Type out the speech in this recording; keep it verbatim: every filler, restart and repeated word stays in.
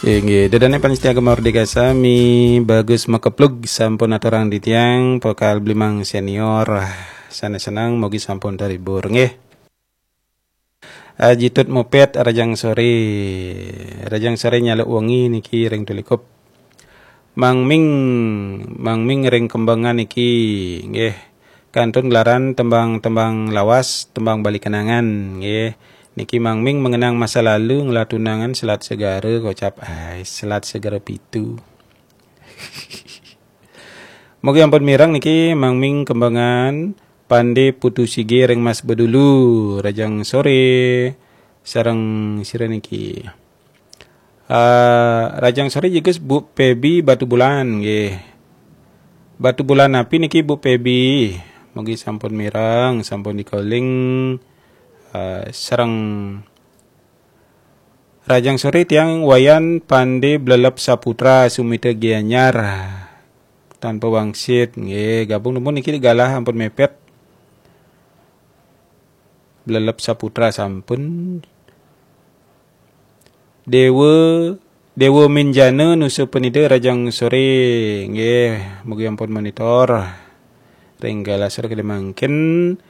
Inggih, ida dané pamiarsa Gema Merdeka sami, Bagus Makeplug sampun aturang titiang, vokal Blimang Senior. Sanés seneng, mugi sampun terhibur, nggih. Aji Tut Mopet, rahajeng soré. Rahajeng soré nyaluk wengi niki ring Tulikup. Mang Ming, Mang Ming ring Kembangan niki, nggih. Kantun gelaran tembang-tembang lawas, tembang bali kenangan, nggih. Niki Mang Ming mengenang masa lalu, ngelah tunangan selat segara, kocap, ai, selat segara pitu. Mugi ampun mireng niki Mang Ming Kembangan, Pandé Putu Sige ring Mas Bedulu, rahajeng soré, sareng sira niki. Ah, rahajeng soré jegés Bu Pebi Batubulan, nggih. Batubulan napi niki, Bu Pebi? Mugi sampun mireng, sampun dikoling, ah, sareng rahajeng soré tiang Wayan Pandé Blelep Saputra Sumita Gianyar. Tanpa wangsit, nggih, gabung nemu niki galah ampun mepet. Blelep Saputra sampun. Dewa, Dewa Minjana Nusa Penida rahajeng soré, nggih, mugi ampun monitor. Ring galah soré kedé mangkin.